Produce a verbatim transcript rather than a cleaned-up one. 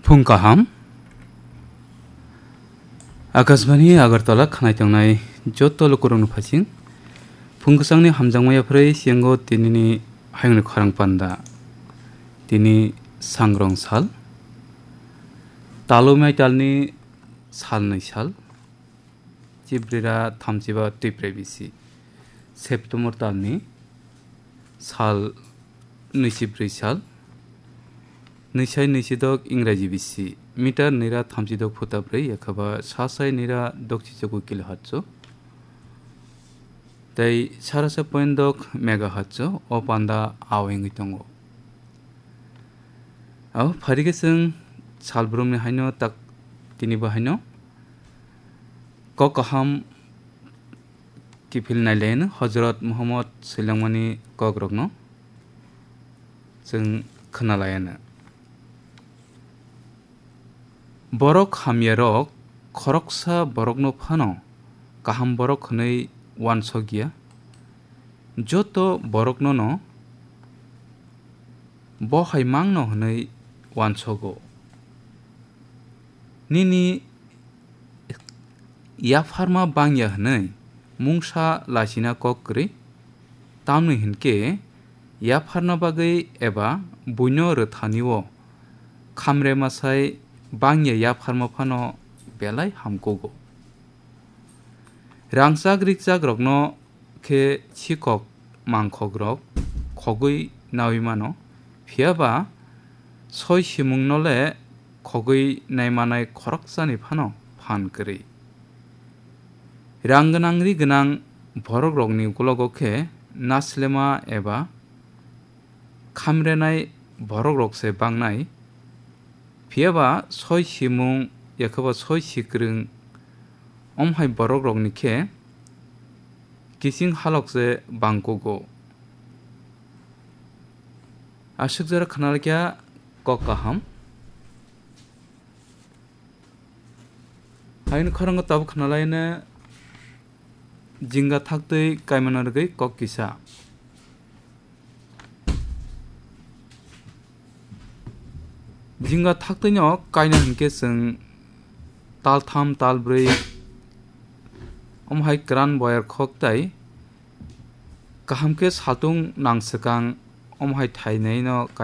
Phung kaham. Akashbani Agartala khnai tongnai joto lukurokno phasing. Phung kwchangni hamjakma yapharwi siyango tinini hayungni khorang panda. Tini sangrong sal. Talumai talni salnwi sal. Chibrira thamchiba twiprai bisi. September talni sal nwichibrwi sal. Nwisai nwichidok Ingraji bisi. Meter nira thamchidok phuta brwi, ekhaba sasai nira dokchichokwi kilohertz. Tei sarasa point dok megahertz o panda awengwi tongo. Abo pharikhe chwng salbrumni haino tak tinibo haino kok kaham kiphil nailaino Hojrot Muhammad swilangmani kokrokno chwng khwnalaino. Borok hamyarok khoroksa borokno phano kaham borok hwnwi uansokya, joto boroknono bo hai mangno hwnwi uansogo. Nini yapharma bangya hwnwi mungsa lachina kok kwrwi, tamni hwnkhe yapharna bagwi eba buino rwthani-o khamre masai bangya yapharma phano belai hamkugo. Rangchak rikchak rokno khe sikok mangkhok rok khogwi naui mano, phiya ba soi simung no le khogwi naimanai khoroksani phano phan kwrwi. Rang gwnang ri gwnang borok rokni ukologo khe naslema eba khamrenai borok rok se bangnai, phiya ba soi simung, yakhe ba soi sikrwng, omhai borok rokni khe kiching halok se bangkugo. Aswk jora khna laikha kok kaham. Haino khorang tabuk khna laina jinga thaktwi kaimana rwgwi kok kisa. Jinga thaktwino kaina hinkhe chwng taltham talbrwi omhai kwran boyar khok tai kaham khe saltung nang swkang omhai thainaino